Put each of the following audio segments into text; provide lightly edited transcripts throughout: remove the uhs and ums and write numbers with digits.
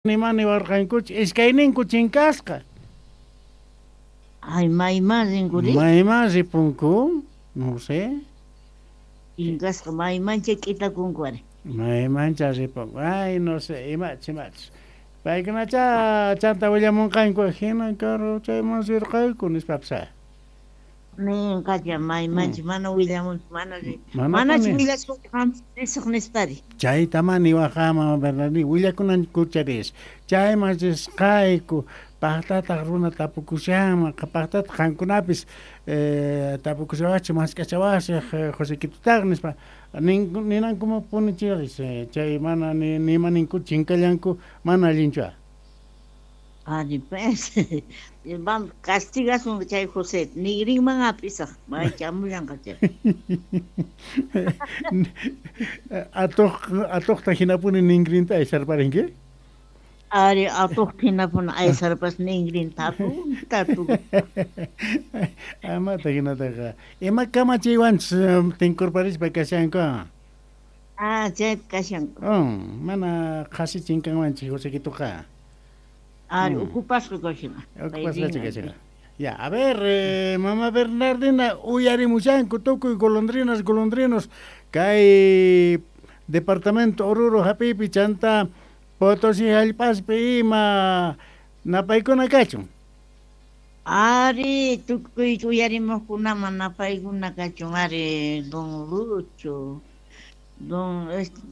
Nima niwarqankuchu, iskayninku chinkasqa. Ay, mayman rinkuri? Mayman ripunku? No sé. Chinkasqa maymancha k'itakunku ari. Maymancha ripunku. Ay, no sé, imach, imach. Paykunacha chanta willamunqanku, hina karu chayman rirqayku nispapis. Ninqacha maymancha mana willamunchu, mana manachu willasqanki qam risaq nispari. Chaytamá niwaqqa mama Bernardina, willakunankucha ris. Chayman risqayku, pajtataq runa tapukushanman, pajtataq qankunapis tapukushawachej, mask'achawachej Josequitutaqa nispa. Ninankumapuni charis, chay mana nima ninku chinkallanku, mana allinchu. Ari pues, vamos, castigasun chay José, nigrinman hap'isaq, may chamullanqa chay. Atuq, atuqta hinapuni ningrinta aysarparinki? Ari, atuqta hinapuni aysarpas ningrinta hatunta tu. Amata hinataqa. Ima kamachiywanchus tinkurparispa kashanku? Ah, chaypi kashanku. Mana qhasi chinkanmanchik Josequitoqa. Ari, ocupasqa kashan. Ocupasqa kashan. Ya, a ver, mama Bernardina, uyarimushanku tukuy golondrinas, golondrinos, kay departamento Oruro hap'iypi chanta Potosí hallp'aspi ima napaykuna kachun. Ari, tukuy uyarimuqkunaman napaykuna kachun, ari, don Lucho. Don,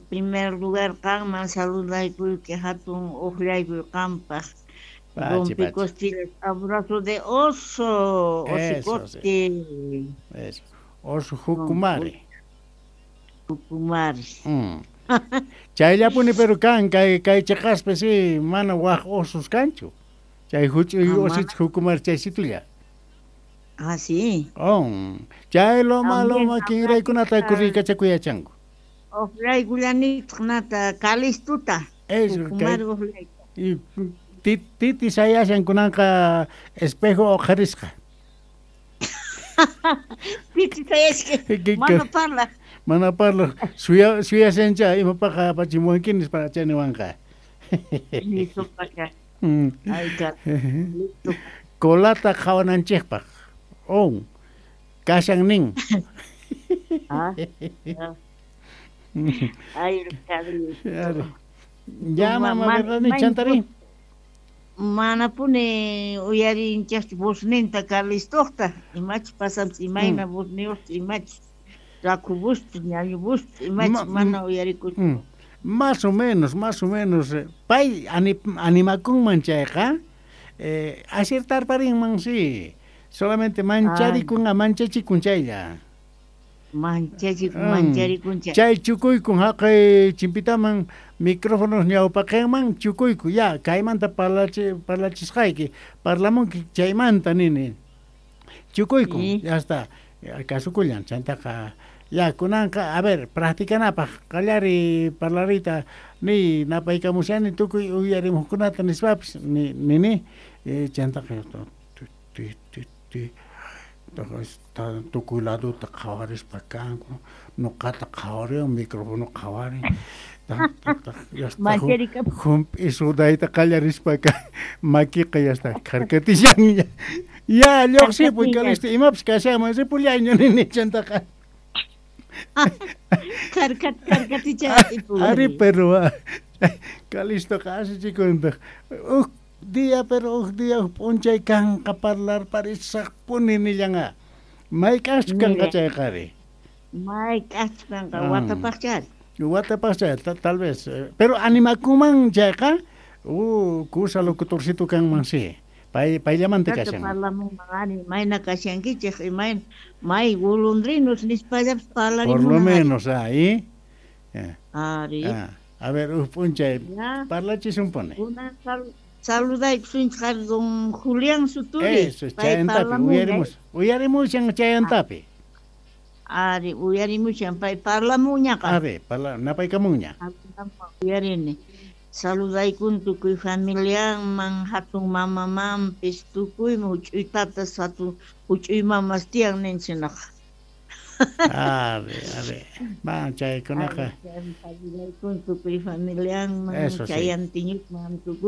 primer lugar qanman saludaykuyki, hatun uqllaykuy qampaq. Don Picostillas, abrazo de oso, osicote. Eso, oso jucumari. Jucumari. Chayllapuni pero kan, kay cheqaspi sí, mana waj osos kanchu. Chay huch'uy osich jucumari chaysitulla. Ah, sí. Oh, chay loma loma kinraykunata kurrikachakuyachanku. Uqlaykullanitaq nata Calistuta. Eso, y titi sayashan kunanqa espejo uqharisqa. Titi sayashka, mana parlaq. Mana parlaq, suyashancha imapaqa apachimuwanki nispa chayniwanqa. Listopaqa. Ay, listo. Colata qhawananchikpaq. Oh, kashan nin. Ah. Ay, Carlito. Ya, mama, ¿verdad? Chantari. Manapuni uyarinchaqchu vozninta Carlistoqta, imachus pasanpis, imayna vozniyuqchu, imachus rakhu vozchu, ñañu vozchu, imachus mana uyarikuchu. Más o menos, más o menos. Pay animakunman chayqa, aciertarparinman, sí. Solamente mancharikun, manchachikun chaylla. Manchachikun, mancharikun chay. Chay chukuykun haqay chimpitaman micrófonos ñawpaqinman chukuyku, ya, kaymanta parlachisqayki, parlamunki chaymanta nini. Chukuykun, ya está, kasukullan, chantaqa, ya, kunanqa, a ver, practicanapaq, qallari parlarita, ni napaykamushani tukuy uyarimuqkunata nispapis, nini, chantaqa, ti, tukuy laduta qhawarispa kanku, nuqata qhawariwan, micrófono qhawarin, jump'i sudayta qallarispa makiqa ya está kharkatishanña. Ya, lluqsipuy Calisto, imapis kashanman ripullayña nini chantaqa. Kharkatichan. Ari, pero Calistoqa asichikuntaq. Uj día, pero uj día, uj p'unchay kanqa parlarparisaqpuni nillanqa. Mayk'aqchu kanqa chayqari? Mayk'aqchu kanqa, watapaqchari. Watapaqchari, tal vez. Pero animakunman chayqa, kusa locutorcito kanman, sí. Payllamanta kashan. Parlamunman, ari, mayna kashankichej, imayna, may golondrinos nispallapis parlarimunman. Por lo menos, ahí. Ari. A ver, uj p'unchay, parlachisun pone. Saludaykusunchik ari don Julián Suturi. Eso, chayantapi, uyarimushan chayantapi. Ari, uyarimushan, pay parlamuñaqa. Ari, napaykamunña. Uyarini. Saludaykun tukuy familianman, hatun mamamanpis, tukuyman, huch'uy tatas, hatun huch'uy mamas tiyan ninchinaqa. Ari, ari. Ma chaykunaqa Tukuy familianman, Eso sí. chayantiñukman tukuy.